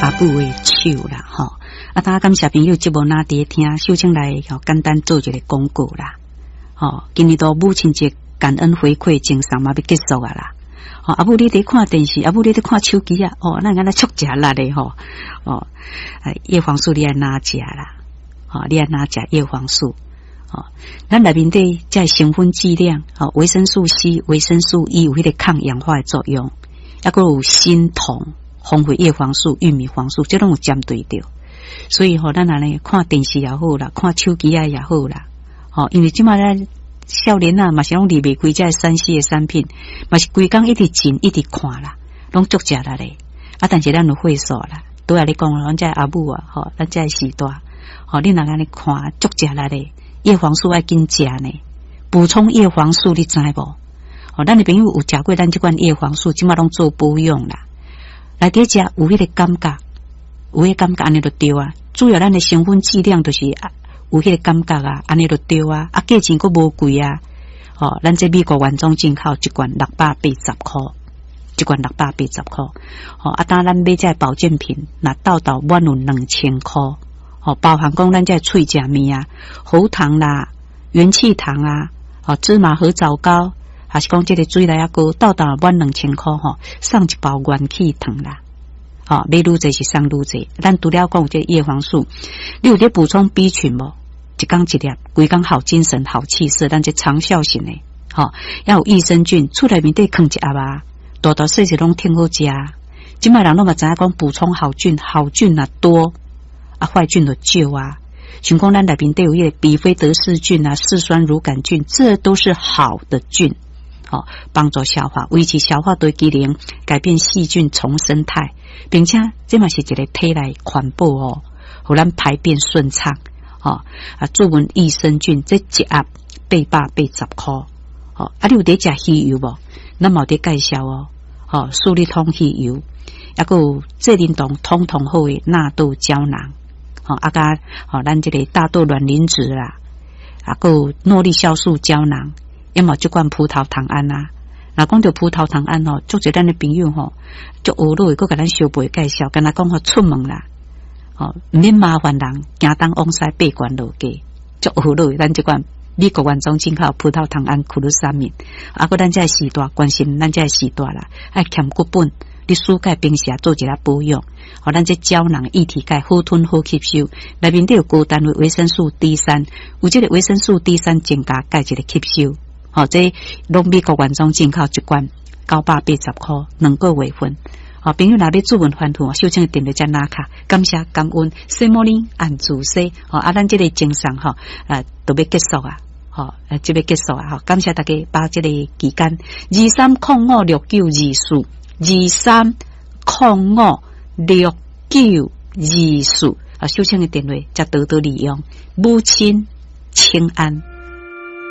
阿母的手啦，吼。啊，當感謝朋友節目若佇咧聽，秀清來吼簡單做一个廣告啦，吼。今年度母親節感恩回饋贈送嘛欲結束啊啦。吼，阿母你佇看電視，阿母你佇看手機啊，哦，咱敢若足食力的吼，哦，葉黃素你愛哪食啦？吼，你愛哪食葉黃素？吼，咱內面底這成分劑量，吼，維生素 C、維生素 E 有彼个抗氧化的作用，抑閣有鋅銅、豐富葉黃素、玉米黃素，這攏有針對著。所以吼，咱按呢看電視也好啦，看手機仔也好啦，吼，因為這擺咱少年仔嘛是攏離袂開這3C 的產品，嘛是規工一直進一直看啦，攏足食力的。啊，但是咱有歲數啦，拄仔咧講，咱這阿母啊，吼，咱這時代，吼，你若按呢看足食力的，葉黃素愛緊食呢，補充葉黃素你知無？吼，咱的朋友有食過咱這款葉黃素，這擺攏做保養啦。來佇食有彼个感覺，有彼个感覺按呢就對啊。主要咱的成分劑量就是有彼个感覺啊，按呢就對啊。啊，價錢閣無貴啊。吼，咱這美國原裝進口一罐680箍，一罐680箍。吼，啊，當咱買這保健品，若鬥鬥滿有2000箍。吼，包含講咱這喙食物啊，喉糖啦、元氣糖啊，吼，芝麻核棗糕，還是講這个水梨仔糕，鬥鬥滿2000箍吼，送一包元氣糖啦。吼，買愈濟是送愈濟。咱除了講有這個葉黃素，你有咧補充 B 群無？一工一粒，規工好精神、好氣色，咱這長效型的，吼，猶有益生菌，厝內面底囥一盒啊，大大細細攏挺好食。這擺人攏嘛知影講補充好菌，好菌若多，啊壞菌就少啊。像講咱內面底有彼个比菲德氏菌啊、嗜酸乳桿菌，這都是好的菌，吼，幫助消化，維持消化的機能，改變細菌叢生態，並且這嘛是一个體內環保哦，予咱排便順暢。吼，啊，注文益生菌這一盒880箍，吼，啊，你有佇食魚油無？咱嘛有佇介紹哦，吼，舒利通魚油，抑閣有濟啉糖通通好的納豆膠囊，吼，啊佮吼，咱這个大豆卵磷脂啦，啊，閣有諾麗酵素膠囊，抑嘛這款葡萄糖胺啊。若講著葡萄糖胺吼，足濟咱的朋友吼，足懊惱的，閣共咱相背介紹，敢若講吼出門啦。吼，毋免麻煩人，行東往西爬懸落低，足懊惱。咱這款美國原裝進口葡萄糖胺苦魯沙米，啊，閣咱這時代關心咱這時代啦，愛欠骨本，你舒鈣平時做一下保養，予咱這膠囊液體鈣好吞好吸收，內面底有高單位維生素 D 3，有這个維生素 D 三增加鈣質的吸收。吼，這攏美國原裝進口一罐980箍，2個月份。吼，朋友若欲主問翻圖，秀清的電話才拿卡，感謝感恩，西摩尼按主西，吼，啊，咱這个精神吼，啊，都欲結束啊，吼，這欲結束啊，吼，感謝大家把這个期間，23056924，23056924，啊，秀清的電話才多多利用，母親請安。